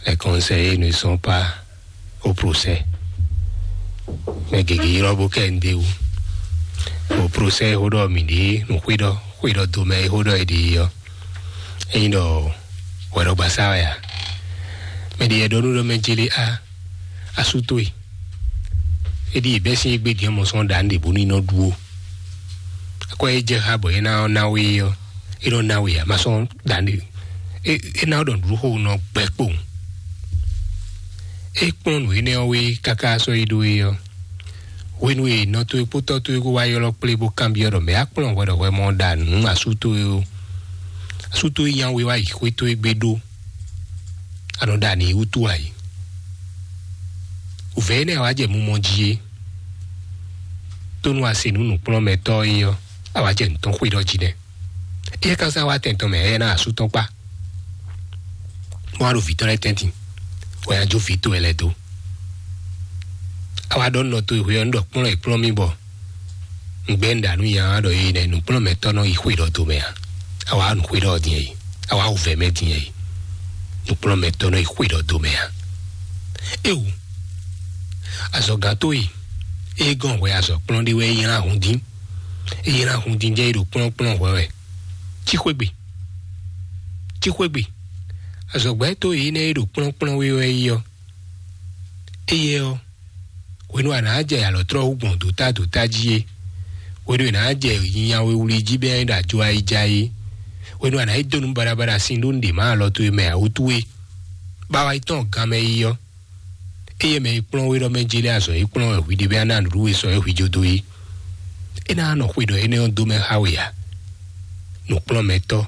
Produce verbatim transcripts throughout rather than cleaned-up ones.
Elles conseillent ne sont pas au procès. Mɛ gěgé ylɔ́ bó kɛ ń ɖe wú. O procès xó ɖɔ mǐ ɖe nǔ xwé ɖɔ xwé ɖɔ do mɛ e xó ɖɔ è ɖe ɔ́. Ényí ɖɔ hwɛɖɔgbasá wɛ a? Mɛ ɖě yɛ ɖɔ nú ɖɔ mɛ jélé a asú towe. É ɖíe bɛ́ sín égbé din ɔ́ mɔ sɔ́ ɖa nǔ ɖě bónú é nɔ ɖu ó. Akwɛ́ e jɛ xá bɔ é ná ɔ́ ná we ɔ́, é nɔ ná we ǎ, ma sɔ́ ɖa nǔ ɖě. É ná ɖɔ nǔɖuɖu xo nɔ gbɛ kpowun. É kplɔ́n nǔ énɛ́ ɔ́ wé káká sɔ́ yi ɖó é ɔ́. Hwenu e nɔ towe kpó tɔ́ towe kó wá ylɔ́ kplé bó kanbyɔ́ ɖɔ mɛ̌ á kplɔ́n hwɛ ɖɔ hwɛ mɔ ɖa nǔ asú towe ó. Asú towe nya we wá yi xwé towe gbe ɖó. A nɔ ɖa nǔ wútu ǎ é. Wǔvɛ́ énɛ́ wá jɛ mumɔ jí é. Tónú a se nǔ nǔkplɔ́nmɛtɔ́ é ɔ́, a wá jɛ nǔ tɔn xwé ɖɔ jí nɛ́. Éyɛ́ ka sá wá tɛn tɔn mɛ, éyɛ́ ná asú tɔn kpá. Bó wá ɖo vǐ tɔn lɛ́ɛ tɛ́ntin, wɛ a jó vǐ towe lɛ́ɛ dó. A wá ɖɔ nɔ towe hwe ɔ́, un ɖɔ kplɔ́n è kplɔ́n mì bɔ un gbɛ́ un ɖa nú nya ɔ́ ɖɔ é nɛ́ nǔkplɔ́nmɛtɔ́ nɔ yi xwe ɖɔ do mɛ ǎ. A wá nǔ xwe ɖɔ din é, a wá wǔvɛ́ mɛ din é, nǔkplɔ́nmɛtɔ́ nɔ yi xwe ɖɔ do mɛ ǎ. Éwu, azɔ̌gán towe e gɔn hwɛ azɔ̌ kplɔ́n ɖé wɛ é nylá hun dín. É nylá hun dín jɛ é ɖo kplɔ́nkplɔ́n hwɛ wɛ. Cí xwé gbe. Cí xwé gbe. Azɔ̌gbɛ́ towe énɛ́ e ɖo kplɔ́nkplɔ́n wé wɛ é ɔ́, éyɛ́ ɔ́, hwenu a nǎ jɛ alɔ̌tlɔ́ wú gbɔn dǒtá dǒtá jí é, hwenu e nǎ jɛ nyawe wlí jí bɛ́ ɖo ajo ayija é, hwenu a nǎ yi dó nǔ baɖabaɖa sin ɖó nǔɖé ma alɔ towe mɛ ǎ wútu é, bawa yi tɔn ganmɛ yi ɔ́, éyɛ́ mɛ e kplɔ́n we ɖɔ mɛ jélé azɔ̌ e kplɔ́n wɛ hwi ɖe bɛ́ ná nǔɖuɖu e sɔ́ é hwi jó dó é. É ná nɔ xwe ɖɔ énɛ́ ɔ́ dó mɛ xá we ǎ. Nǔkplɔ́nmɛtɔ́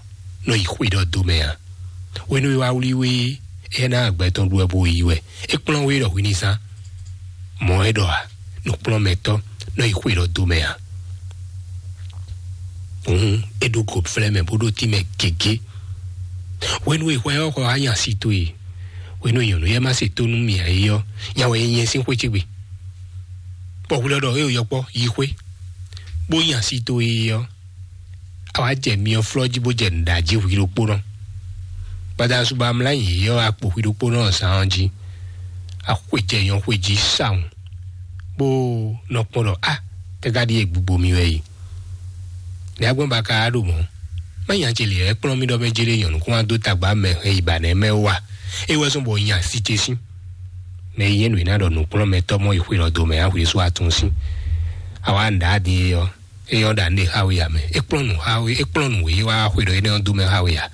nɔ yi xwe ɖɔ dó mɛ ǎ. Hwenu e wá wlí we é, é ná agbɛ tɔn ɖu wɛ bó yi wɛ. É kplɔ́n we ɖɔ hwi ní zán. Mɔ̌ é ɖɔ ǎ, nǔkplɔ́nmɛtɔ́ nɔ yi xwe ɖɔ dó mɛ ǎ. Hǔn é ɖó go flɛ́ mɛ bó ɖó tínmɛ gěgé. Hwenu e hwɛ ɔ́ xɔ wá nya si towe, hwenu e nyɔ̌nu yɛ má se tó nú mì ǎ é ɔ́, nya wɛ é nyɛ sín xwé ce gbe. Bɔ hwlɛ́ ɖɔ é yɔkpɔ́ yi xwé, bó nya si towe é ɔ́, a wá jɛ myɔ flɔ́ jí bó jɛ nǔɖají hwi ɖokpónɔ. Gbadanu su ba mlá nyi yɔ akpo hwi ɖokpónɔ zán ɔ́ jí, a xwe jɛ nyɔ xwe jí sawun, bó nɔ kpɔ́n ɖɔ a tɛ́ ka ɖíe gbugbo mi wɛ yi. Nɛ̌ agbɔ́n ba ka ɖo mɔ̌? Má nya ce lě wɛ kplɔ́n mì ɖɔ mɛ jélé nyɔ̌nu kún wá dó tagba mɛ hɛn yi ba nɛ̌ mɛ wá. É wɛ zɔ́n bɔ nya sí ce sín. Mɛ yi nyɛ nǔ e ná ɖɔ nǔkplɔ́nmɛtɔ́ mɔ yi xwe lɔ do mɛ á hwesú atún sín. A wá nǔɖá din é ɔ́, é ɔ́ ɖa nǔɖé xá we ǎ mɛ. É kplɔ́n nǔ xá we, é kplɔ́n nǔ e wá xwe ɖɔ énɛ́ ɔ́ dó mɛ xá we ǎ.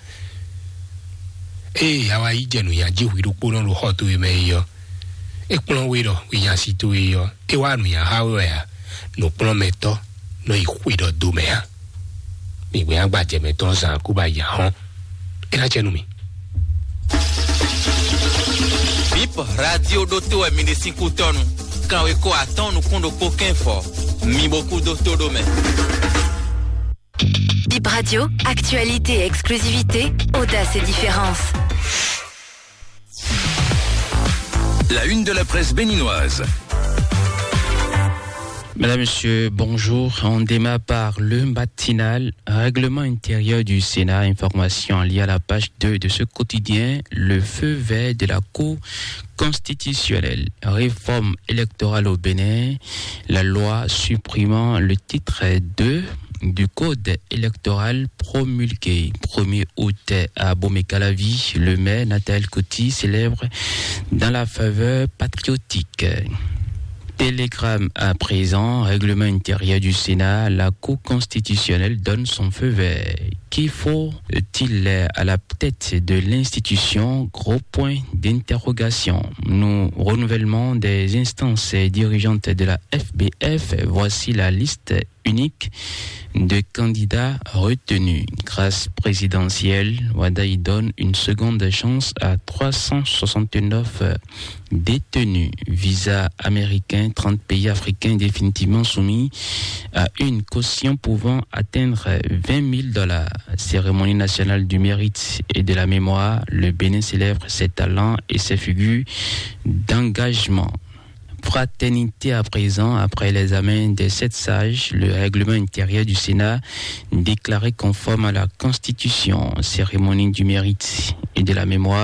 Ée a wá yi jɛ nǔnyají hwi ɖokpónɔ ɖo xɔ towe mɛ é ɔ́, é kplɔ́n we ɖɔ hwi nya si towe é ɔ́, é wá nǔnya xá we wɛ ǎ. Nǔkplɔ́nmɛtɔ́ nɔ yi xwe ɖɔ do mɛ ǎ. Mi gbɛ́ agbajɛ mɛtɔn zan kú ba yi ahɔn. É ná jɛ nú mi. Bip radio ɖótó wɛ mi ɖe sín kútɔ́nu. Kanwe ko atɔ́ɔ́n nukún ɖokpó kɛ́nfɔ. Mi bo kú dó tó ɖó mɛ. Bip Radio, actualité et exclusivité, audace et différence. La une de la presse béninoise. Madame, Monsieur, bonjour. On démarre par le matinal. Règlement intérieur du Sénat, information liée à la page deux de ce quotidien. Le feu vert de la Cour constitutionnelle. Réforme électorale au Bénin. La loi supprimant le titre deux du code électoral promulgué premier août à Bomekalavi. Le maire Nathalie Coty célèbre dans la faveur patriotique. Télégramme à présent, règlement intérieur du Sénat, la Cour constitutionnelle donne son feu vert. Qui faut-il à la tête de l'institution ? Gros point d'interrogation. Nous, renouvellement des instances dirigeantes de la F B F, voici la liste unique de candidats retenus. Grâce présidentielle, Wada y donne une seconde chance à trois cent soixante-neuf détenus. Visa américain, trente pays africains définitivement soumis à une caution pouvant atteindre vingt mille dollars. Cérémonie nationale du mérite et de la mémoire, le Bénin célèbre ses talents et ses figures d'engagement. Fraternité à présent, après l'examen des sept sages, le règlement intérieur du Sénat déclaré conforme à la Constitution. Cérémonie du mérite et de la mémoire,